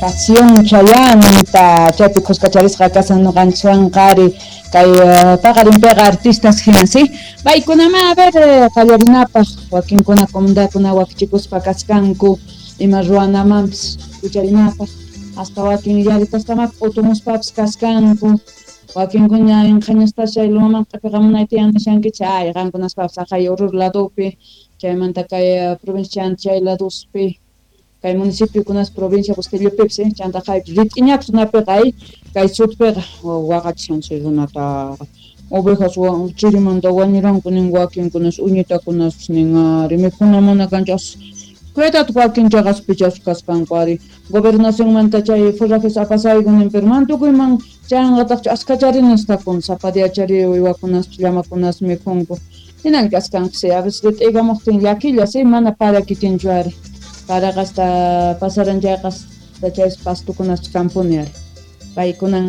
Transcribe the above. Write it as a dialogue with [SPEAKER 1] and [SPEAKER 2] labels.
[SPEAKER 1] Pasión Chayanta, chaypi khuskacharisqa kashan noqanchikwanqa ari kay paqarinpiqa artistas hinan, sí? Paykunamá, a ver, qallarinapaq wakinkuna comunidadkuna wakichikuspa kachkanku ima ruwanamanpis wicharinapaq, hasta wakin llaritastamá p'utumuspapis kachkanku, wakinkuna inqhañastas chay lumaman q'ipiqamunay tiyan nishankichik, ay qankunaspapis haqay Oruro ladopi, chaymanta kay provincia chay ladospi, kay municipiokunas provincia Busquellopipis, chanta haypi rit'iñapis runapiqa ay kay sutpiqa waqachishan chay runata ovejas chirimanta wañuranku nin wakinkunas uñitakunaspis nin ari mikhuna mana kanchu as cuidado wakin chaqaspichas kasqanku ari gobernacionmanta chay forrajes apasayku nin pero man tukuyman chayanqataqchu askachari nisqakun sapa diachari uywakunaspis llamakunas mikhunku hinan kaskanku sí a veces rit'iykamuqtin llakilla sí mana para kikinchu ari paraqa hasta pasaran chayqa hasta chay pastukunaspis kampuni ari paykunan.